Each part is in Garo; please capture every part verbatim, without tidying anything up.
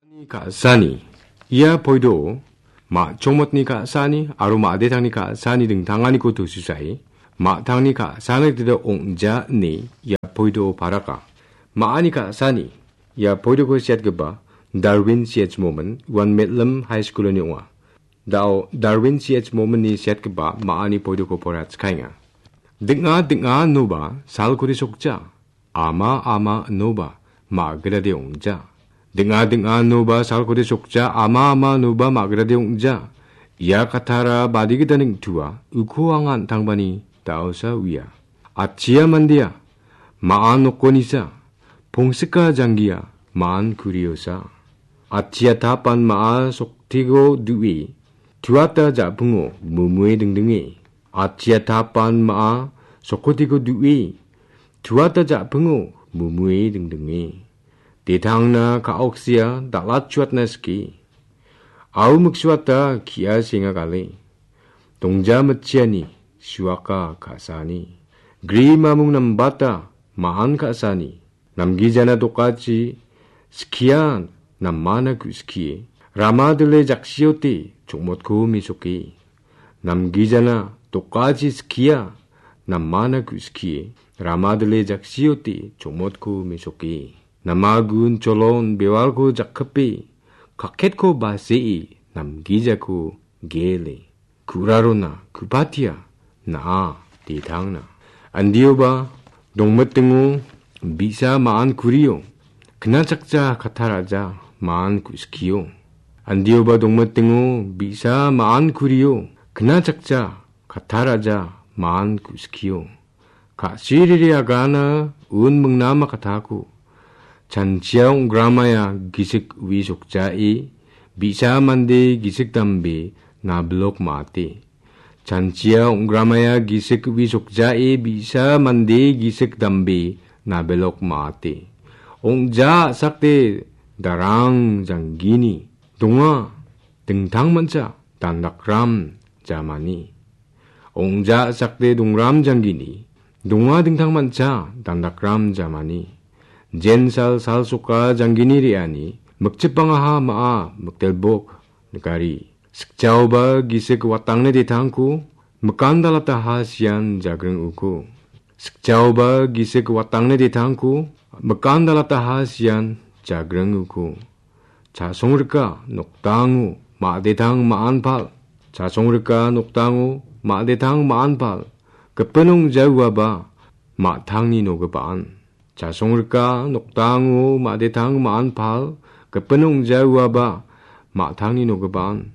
Ka·sani. Ia poido ma·chongmotni ka·sani aro ma·detangni ka·sani dingtanganiko tusisae ma·tangni ka·sani gita ong·ja ine ia poido paraka. Ma·ani ka·sani. Ia poidoko siatgipa Darwin C H Momin uan Medlam High School-oni ong·a. Da·o Darwin C H Mominni siatgipa ma·ani poidoko poraiatskaenga. Ding·a ding·a inoba salkode sokja. Ama ama inoba ma·gitade ong·ja. Ding·a ding·a inoba salkode sokja, ama ama inoba ma·gitade ong·ja. Ia katara badi gita neng·tua, uko anga an·tangbani da·osa uia. Atchia mandea, ma·an nokonisa, pongsika janggia, ma·an kuriosa. Atchia tapan ma·a soktiko du·e, tuata ja·pingo mumue dingdinge. Atchia tapan ma·a sokotiko du·e, tuata ja·pingo mumue dingdinge. Detangna ka·oksia dal·atchuatna sike. Au miksuata ki·a senga gale. Dongja mitchiani suaka ka·sani. Gri mamung nambata ma·an ka·sani. Namgijana dokachi skia namana ku·skie. Rama dile jaksiote chokmotko mesoke. Namgijana dokachi skia namana ku·skie. Rama dile jaksiote chokmotko mesoke. Namagun cholon bewalko jakkipe. Kaketko basee namgijako gele. Ku·rarona ku·patia na·a detangna. Andioba dongmitingo bi·sa ma·an kurio, knachakja kataraja ma·an ku·skio. Andioba dongmitingo bi·sa ma·an kurio, knachakja kataraja ma·an ku·skio. Ka·siriri agana un mingnama katako. Chanchia ong·gramaya gisik wi sokjae, bi·sa mande gisik dambe nabilok ma·ate. Chanchia ong·gramaya gisik wi sokjae, bi·sa mande gisik dambe nabilok ma·ate. Ong·ja a·sakde darang janggini donga. Dingtang mancha dandakram jamani. Ong·ja a·sakde dongram janggini, donga dingtang mancha dandakram jamani. Jensal salsoka janggini re·ani, mikchipangaha ma·a mikdelbok nikari. Sikjaoba gisik watangne detangko, mikandalataha sian jagring uko. Sikjaoba gisik watangne detangko, mikandalataha sian jagring uko. Chasongrika nokdango ma·detang ma·anpal. Chasongrika nokdango ma·detang ma·anpal. Gipin ong·jauaba ma·tangni nogipaan. Chasongrika nokdango ma·detang ma·anpal. Gipin ong·jauaba ma·tangni nogipaan.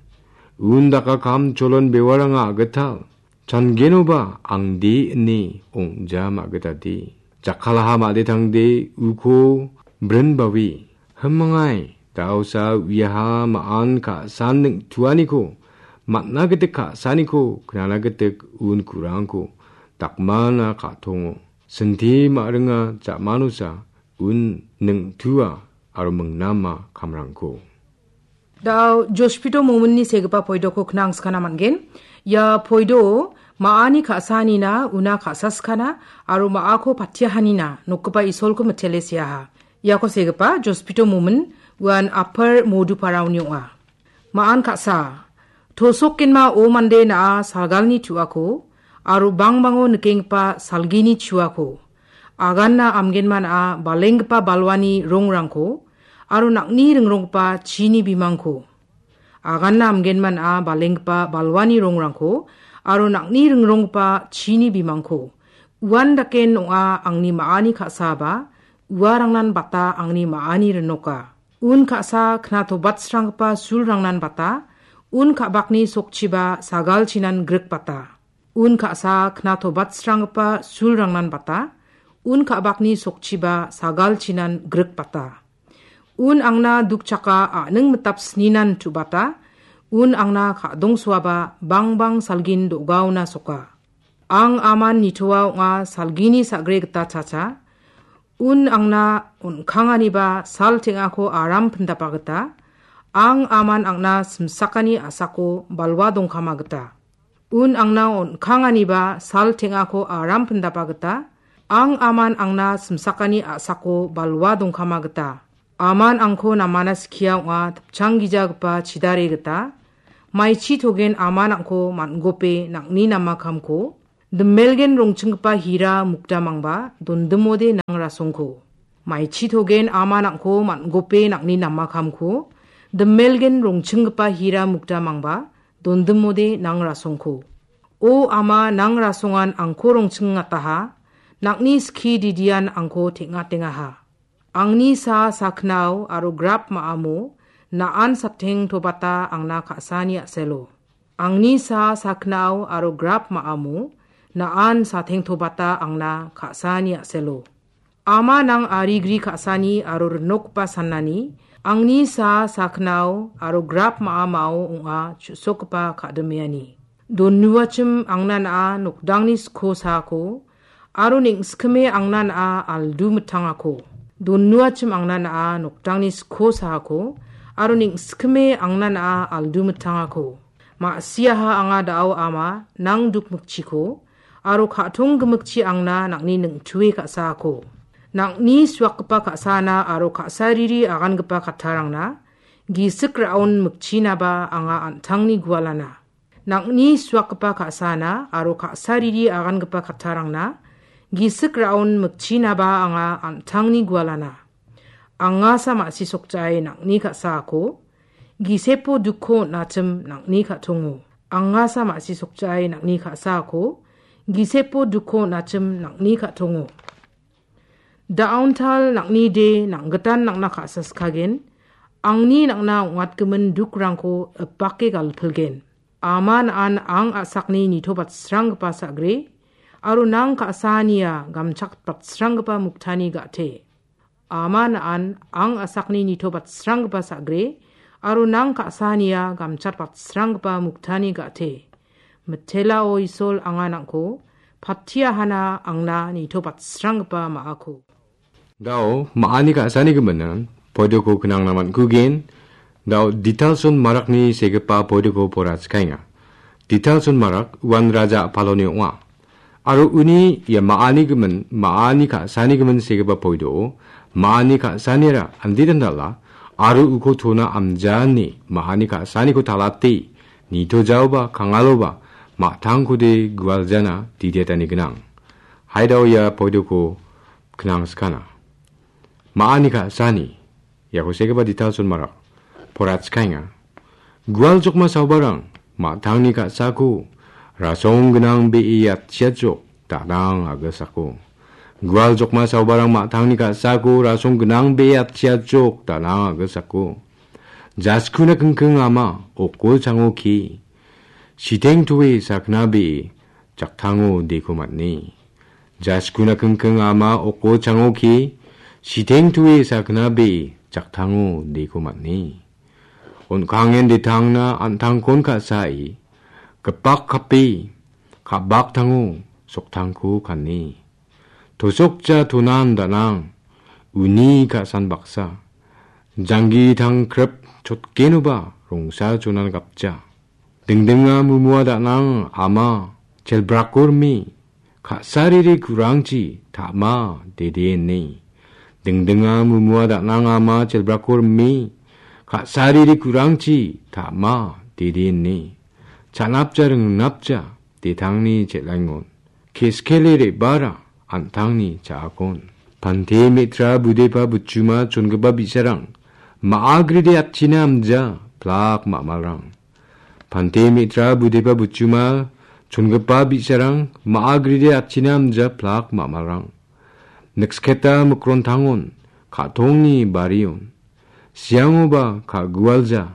Undaka kam cholon bewaranga agital. Changenoba angde ine ong·ja ma·gitade. Jakkalaha ma·detangde uko brinbawi. Himangai, daosa uiaha ma·an ka·san ning·tuaniko, man·a gitik ka·saniko, knana gitik un kurangko, dakmana ka·tongo. Sinti ma·ringa jamanosa un ning·tua aro mingnama kamrangko. Da·o Jospito Mominni segipa poidoko knangskana man·gen. Ia poido ma·ani ka·sanina una ka·saskana aro ma·ako patiahanina nokgipa Isolko mitele seaha. Iako segipa Jospito Momin uan Apar Moduparaoni ong·a. Ma·an ka·sa. Tosokgenma o mande na·a salgalni tu·ako aro bangbango nikenggipa salgini chuako. Aganna amgenma na·a balenggipa balwani rongrangko aro nang·ni ringronggipa chini bimangko. Aganna amgenma na·a balenggipa balwani rongrangko aro nang·ni ringronggipa chini bimangko. Uan daken ong·a angni ma·ani ka·saba, uarangnan bata angni ma·ani rinoka. Un ka·sa knatobatsranggipa sulrangnan bata, un ka·bakni sokchiba sagalchinan grikbata. Un ka·sa knatobatsranggipa sulrangnan bata, un ka·bakni sokchiba sagalchinan grikbata. Un angna dukchaka a·ning mitap sninan tu·bata, un angna ka·dongsoaba bangbang salgin do·gaona soka. Ang aman nitoa ong·a salgini sa·gre gita chacha. Un angna on·kanganiba sal teng·ako aram pindapa gita. Ang aman angna simsakani a·sako balwa dongkama gita. Un angna on·kanganiba sal teng·ako aram pindapa gita. Ang aman angna simsakani a·sako balwa dongkama gita. Aman angko namana skia ong·a, tipchanggijagipa chidare gita. Maichi togen aman angko man·gope nang·ni namakamko, dimelgen rongchinggipa hira mukdamangba dondimode nang rasongko. Maichi togen aman angko man·gope nang·ni namakamko, dimelgen rongchinggipa hira mukdamangba dondimode nang rasongko. O ama, nang rasongan angko rongchingataha, nang·ni skie didian angko teng·atengaha. Angni sa saknao aro grap ma·amo na·an sateng tobata angna ka·sani a·selo. Angni sa saknao aro grap ma·amo na·an sateng tobata angna ka·sani a·selo. Ama, nang arigri ka·sani aro rinokgipa sanani, angni sa saknao aro grap ma·amao ong·a chu·sokgipa ka·dimeani. Donuachim angna na·a nokdangni sko saako, aro neng·sikime angna na·a aldu mitangako. Donuachim angna na·a nokdangni sko saako, aro neng·sikime angna na·a aldu mitangako. Ma·siaha anga da·o ama, nang dukmikchiko, aro ka·tong gimikchi angna nang·ni neng·tue ka·saako. Nang·ni suakgipa ka·sana aro ka·sariri agangipa kattarangna, gisik ra·on mikchinaba anga an·tangni gualana. Nang·ni suakgipa ka·sana aro ka·sariri agangipa kattarangna, gisik ra·on mikchinaba anga an·tangni gualana. Angasa ma·si sokjae nang·ni ka·saako, gisepo dukko on·achim nang·ni ka·tongo. Angasa ma·si sokjae nang·ni ka·saako, gisepo dukko on·achim nang·ni ka·tongo. Da·aontal nang·ni de nang·gitan nang·na ka·saskagen, angni nang·na ong·atgimin dukrangko ipake galpilgen. Ama, na·an ang a·sakni nitobatsranggipa sa·gre, aro nang ka·sania gamchakbatsranggipa muktani ga·te. Ama, na·an ang a·sakni nitobatsranggipa sa·gre, aro nang ka·sania gamchatbatsranggipa muktani ga·te. Mitelao Isol anga nang·ko patiahana angna nitobatsranggipa ma·ako. Da·o ma·ani ka·sani giminan poidoko knangna man·kugen. Da·o Ditalson Marakni segipa poidoko pora chikaenga. Ditalson Marak uan raja a·paloni ong·a. Aro uni ia ma·ani gimin, ma·ani ka·sani gimin segipa poido, ma·ani ka·sanira anditandala, aro uko tona amjani ma·ani ka·saniko talate, nitojaoba, kangaloba, ma·tangkode gualjana didiatani gnang. Haidao ia poidoko knangskana. Ma·ani ka·sani, iako segipa Ditalson Marak, porachkaenga. Gual jokma saobarang, ma·tangni ka·sako, rasong gnang be·e atchiatjok, da·nang a·gilsako. Gual jokma saobarang ma·tangni ka·sako, rasong gnang be·e atchiatjok, da·nang a·gilsako. Jaskuna kingking ama, okol chango ke. Siteng toe sakna be·e, jaktango deko man·e. Jaskuna kingking ama oko chango ke, siteng toe sakna be jaktango deko man·e. On·kangen detangna an·tangkon ka·sae, gipak kape, ka·baktango soktangko kane. Tosokja tonan danang, uni ka·san baksa. Janggi tangkrip chotgenoba rongsa jonan gapja. Dingdinga mumua danang ama chelbrako rime, ka·sariri kurangchi ta·ma dede ine. Dingdinga mumua danang ama chelbrako rime, ka·sariri kurangchi ta·ma dede ine. Chanapja ringnapja detangni chel·angon. Keskele re·bara an·tangni cha·akon. Pante me·tra budepa butchuma chongipa bi·sarang, ma·agride atchina amja plak ma·malrang. Pante me·tra budepa butchuma chongipa bi·sarang, ma·agride atchina amja plak ma·malrang. Niksketa mikrontangon, ka·tongni barion. Siangoba ka·gualja,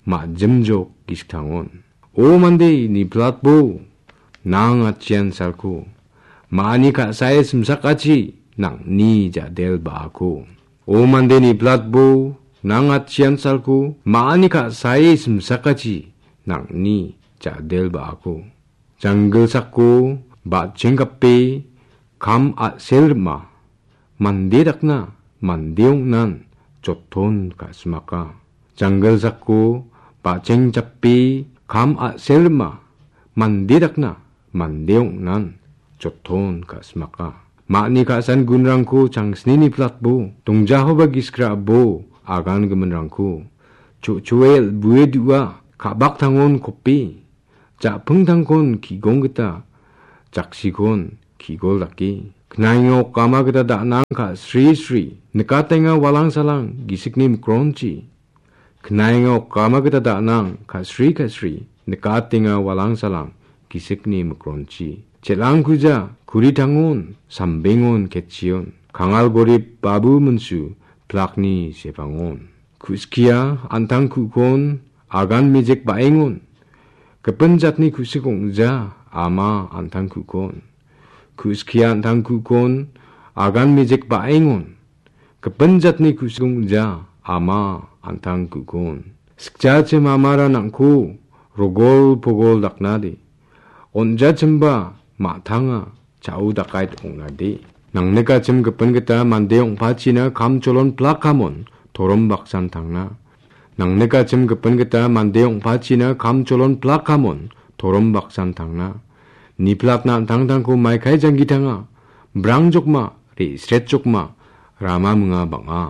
ma·jimjok gisktangon. O mande, niplatbo, nang atchian salko. Ma·ani ka·sae simsakachi, nang·ni ja·del ba·ako. O mande, niplatbo, nang atchian salko. Ma·ani ka·sae simsakachi, nang·ni ja·del ba·ako. Janggilsako, ba·chenggape, kam a·sel rima. Mande dakna, mande ong·nan, joton ka·simaka. Janggilsako, ba·cheng chape, kam a·sel rima. Mande dakna, mande ong·nan, joton ka·simaka. Ma·ani ka·san gunrangko changsni niplatbo, dongjahoba giskrabo agan giminrangko. Cho·choel bue du·a, ka·baktangon kopi. Ja·pingtangkon ki·gong gita, jaksikon ki·gol dake. Knainga okama gita da·nang ka·sri sri, nikatenga walang salang gisikni mikronchi. Knainga okama gita da·nang ka·sri ka·sri, nikatenga walang salang gisikni mikronchi. Chelangkuja, kuritangon, sambengon, ketchion, kangal gorip babu minsu, plakni sepangon. Ku·skia, an·tang ku·kon, agan mejek ba·engon. Gipin jatni ku·sik ong·ja, ama an·tang ku·kon. Ku·skia an·tang ku·kon, agan mejek ba·engon. Gipin jatni ku·sik ong·ja, ama an·tang ku·kon. Sikjachim amara nang·ku, rogol pogol daknade. On·jachimba, ma·tanga, cha·u dakait ong·nade. Nangnikachim gipin gita mande ong·pachina kam cholon plak kamon torom baksan tangna. Nangnikachim gipin gita mande ong·pachina kam cholon plak kamon torom baksan tangna. Niplatna an·tangtangko maikai janggi tanga. Brang jokma, re·sret jokma, rama minga bang·a.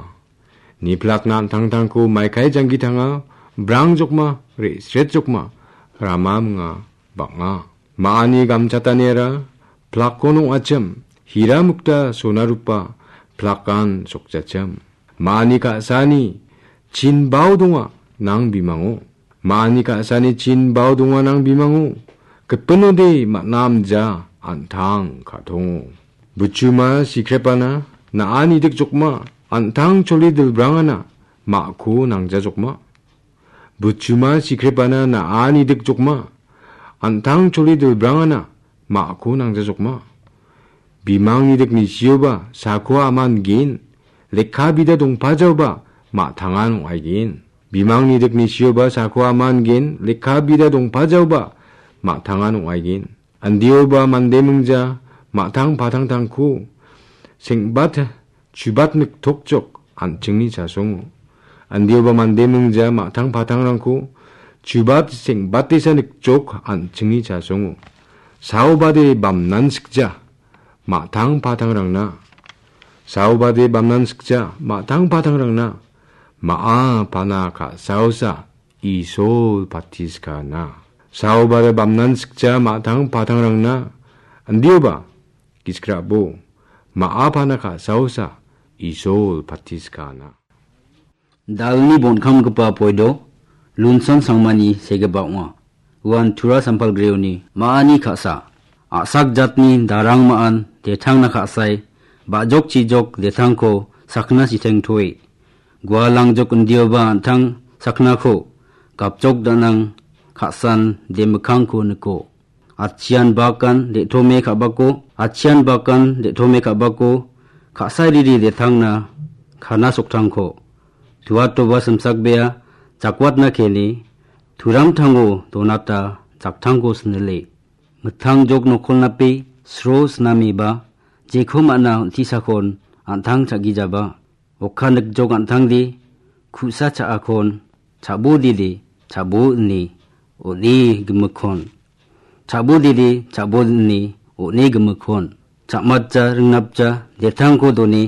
Niplatna an·tangtangko maikai janggi tanga, brang jokma, re·sret jokma, rama minga bang·a. Ma·ani gamchataniara plakkon ong·achim, hira mukta sona rupa plakan sokjachim. Ma·ani ka·sani chinbao donga nang bimango. Ma·ani ka·sani chinbao donga nang bimango. Gipinode man·amja an·tang ka·tongo. Buchuma sikrepana na·ani dikjokma, an·tang choli dilbrangana ma·ko nangjajokma. Buchuma sikrepana na·ani dikjokma, an·tang choli dilbrangana ma·ko nangjajokma. Bimangni dik nisioba sako aman gen, lekka bida dongpajaoba ma·tangan ong·aigen. Bimangni dik nisioba sako aman gen, lekka bida dongpajaoba ma·tangan ong·aigen. Andioba mande mingja ma·tang patangtangko seng·bat chubat niktokjok an·chingni chasongo. Andioba mande mingja ma·tang patangrangko chubat seng·batesa nikjok an·chingni chasongo. Saobade bamnan sikja ma·tang patangrangna. Saobade bamnan sikja ma·tang patangrangna. Ma·a pana ka·saosa Isol patiskana. Saobare bamnan sikja ma·tang patangrangna. Andioba giskrabo ma·a pana ka·saosa Isol patiskana. Dalni bonkamgipa poido Lunson Sangmani segipa ong·a. Uan Tura Sampalgreoni ma·ani ka·sa. A·sak jatni darang ma·an detangna ka·sae ba·jok chijok detangko sakna siteng toe. Gualangjok indioba an·tang saknako gapjok danang ka·san demikkangko niko. Achian bakan de·tome ka·bako, achian bakan de·tome ka·bako, ka·sairiri detangna kana soktangko. Tuatoba simsakbea jakwatna keni, turamtango donata jaktangko sinile. Mittang jok nokolnape sro sinamiba, jeko man·a on·tisakon an·tang cha·gijaba. Okka nikjok an·tangde, ku·sa cha·akon, cha·bodide, cha·bo ine, on·e gimikkon. Cha·bodide, cha·bo ine, on·e gimikkon. Cha·matja, ringnapja, detangko done,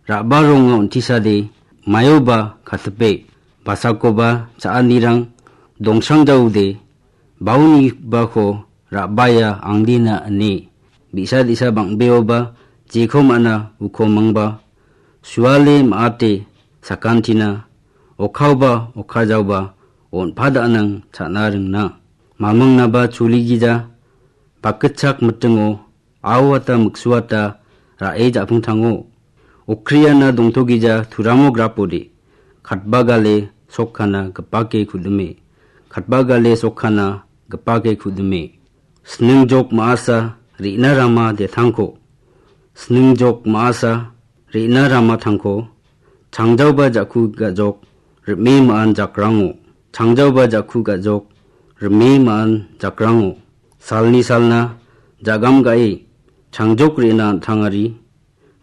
ra·ba ronga on·tisade, maioba katipe, basakoba cha·anirang dongsrangjaude, baunibako ra·baia angdina ine. Bi·sa di·sa bang·beoba jeko man·a uko mangba, suale ma·ate sakantina, okkaoba okkajaoba on·pa da·nang cha·na ringna. Mamingnaba chuligija, bakgitchak mitingo, aoata miksuata ra·e ja·pingtango. Okriana dongtogija turamo grapode, katba gale sokkana gipake kudime, katba gale sokkana gipake kudime. Sningjok ma·asa re·na rama detangko. Sningjok ma·asa re·na rama tangko. Changjaoba ja·ku ga·jok rime ma·an jakrango. Changjaoba ja·ku ga·jok rime ma·an jakrango. Salni salna jagam ga·e changjok re·na an·tangari.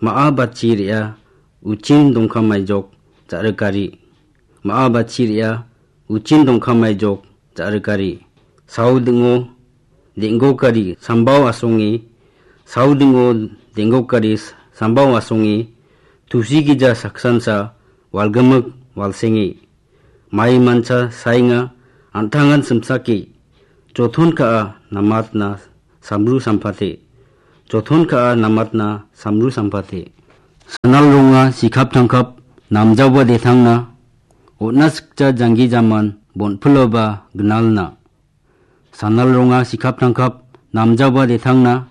Ma·a batchi re·a uchin dongkamaijok ja·rikari. Ma·a batchi re·a uchin dongkamaijok ja·rikari. Saodingo deng·gokari sambao asonge Saudingo denggok gari sambao asonge, tusi gija saksansa, walgimik walsenge. Mai mancha saenga, an·tangan simsake. Joton ka·a namatna samru sampate. Joton ka·a namatna samru sampate. Sanal ronga sikap tangkap, namjaoba detangna. On·a sikja janggi jaman, bonpiloba gnalna. Sanal ronga sikap tangkap, namjaoba detangna.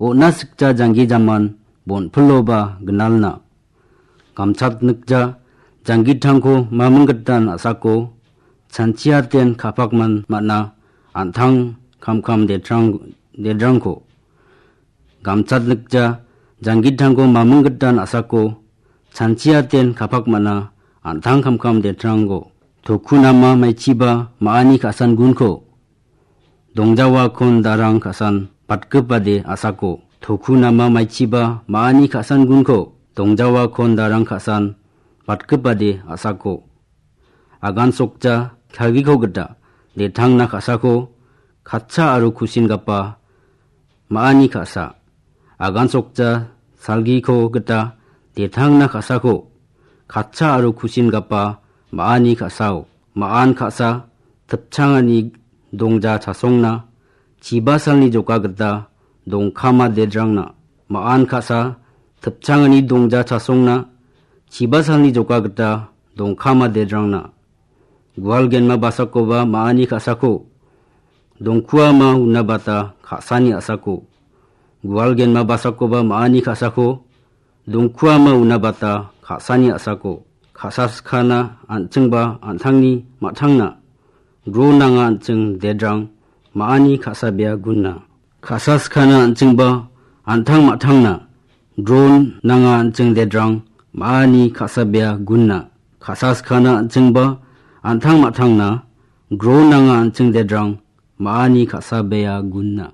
On·a sikja janggi jaman, bonpiloba gnalna. Gamchat nikja, janggitangko maminggitan a·sako, chanchiaten kapakman man·a, an·tang kamkam dedrang-, dedrangko. Gamchat nikja, janggitangko maminggitan a·sako, chanchiaten kapak man·a, an·tang kamkam dedrangko. Toku nama maichiba ma·ani ka·san gunko. Dongjawa kon darang ka·san batgipade a·sako. Toku nama maichiba ma·ani ka·san gunko. Dongjawa kon darang ka·san batgipade a·sako. Agan sokja, salgiko gita, detangna ka·sako, katcha aro kusinggipa, ma·ani ka·sa. Agan sokja, salgiko gita, detangna ka·sako, katcha aro kusinggipa, ma·ani ka·sao. Ma·an ka·sa, tipchangani dongja chasongna, chibasalni joka gita, dongkama dedrangna. Ma·an ka·sa, tipchangani dongja chasongna, chibasalni joka gita, dongkama dedrangna. Gual genma basakoba ma·ani ka·sako, dongkuama unabata ka·sani a·sako. Gual genma basakoba ma·ani ka·sako, dongkuama unabata ka·sani a·sako. Ka·sa skana an·chingba an·tangni ma·tangna. Ro nanga an·ching dedrang ma·ani ka·sabea gunna. Ka·sa skana an·chingba an·tang ma·tangna. Ro nanga an·ching dedrang ma·ani ka·sabea gunna. Ka·sa skana an·chingba an·tang ma·tangna. Ro nanga an·ching dedrang ma·ani ka·sabea gunna.